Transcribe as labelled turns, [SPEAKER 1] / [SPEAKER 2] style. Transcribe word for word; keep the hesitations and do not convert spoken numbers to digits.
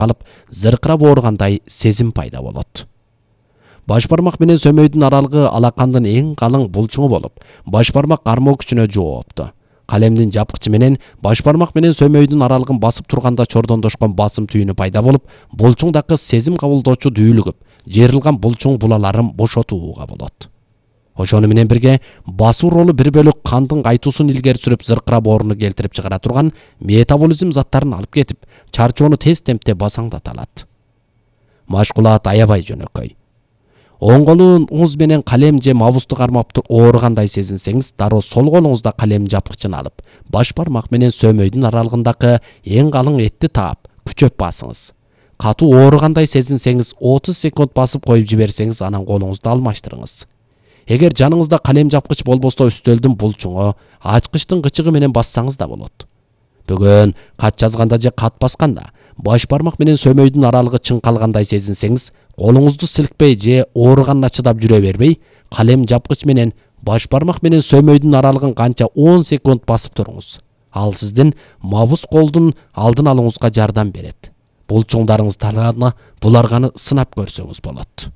[SPEAKER 1] калып, зыркырап ооругандай сезим пайда болот. Баш бармак менен сөмөйдүн аралыгы алакандын эң калың булчуңу болуп, баш бармак кармоо күчүнө жоопту. Калемдин жапкычы менен баш бармак менен сөмөйдүн аралыгын басып турганда чордондошкон басым түйүнү пайда болуп, булчуңдагы сезим кабылдоочу дүүлүгүп, жыйрылган булчуң булаларын бошотууга болот. Ошону менен бирге басуу ролу бир бөлүк кандын кайтуусун илгери сүрүп, зыркырап ооруну келтирип чыгара турган метаболизм заттарын алып кетип, чарчоону тез темпте басаңдата алат. Машкулат аябай жөнөкөй. Оң колуңуз менен калем же мабусту кармап ооругандай сезинсеңиз, дароо сол колуңузда калем жапкычын алып, баш бармак менен сөмөйдүн аралыгындагы эң калың этти таап, күчөп басыңыз. Катуу ооругандай сезинсеңиз, отуз секунд басып коюп жиберсеңиз, анан колуңузду алмаштырыңыз. Эгер жаныңызда калем жапкыч болбосо, үстөлдүн булчуңу, ачкычтын кычыгы менен бассаңыз да болот. Бүгүн кат жазганда же кат басканда баш бармак менен сөмөйдүн аралыгы чыңкалгандай сезинсеңиз, колуңузду силкпей же ооруганына чыдап жүрө бербей, калем жапкыч менен баш бармак менен сөмөйдүн аралыгын канча он секунд басып туруңуз. Ал сиздин мабус колдун алдын алууңузга жардам берет. Булчуңдарыңыз талааны буларганы сынап көрсөңүз болот.